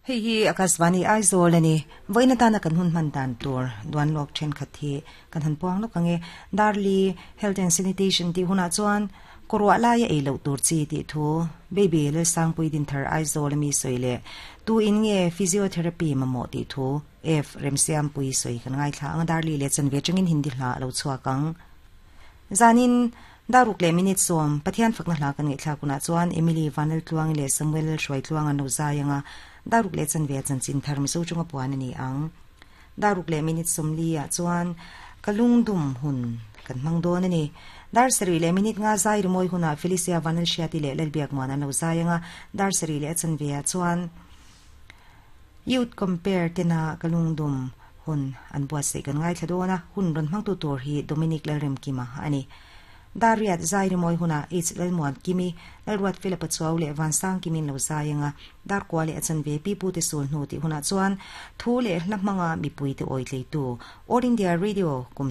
Hei hi Akashvani Aizawl a ni. Vawiin atana kan hun hman dan tur duan lawk thenkhat hi kan han puang lawk ang e. Darli Health and Sanitation tih hunah chuan kawruah laia ei loh tur chi tih thu Baby Lalsangpui Dinthar Aizawl a mi sawi leh tu in nge Physiotherapy mamawh tih thu F Remsiampui sawi kan ngaithla ang a Darli leh chanve atangin Hindi hla a lo chhuak ang. Zanin Daruk leh minute sawm Pathian fakna hla kan ngaihthlak hunah chuan Emily Vanlaltluangi leh Samuel Hruaitluang an lo zai ang a, Daruk leh chanve a chanchin thar Mizo chunga puan a ni ang. Daruk leh minute 40 ah chuan ka lungdum hun kan hmang dawn a ni. Dar sarih leh minute nga zai rimawi hunah Felicia Vanlalhriati leh Lalbiakmuan an lo zai ang a, dar sarih leh a chanve ah chuan Youth Compare tena ka lungdum Hun an buatsaih kan ngaithla dawn a, hun rawn hmangtu tur hi Dominic Lalremkima a ni. Dariat zai rimawi hunah H Lalmuan Kimi, Lalruat Fela Pachuau leh Vansang Kimin lo zai anga Darkua leh a chanve Pipute sul hnu tih hunah chuan thu leh hla hmanga mipuite awi tleitu All India Radio kum.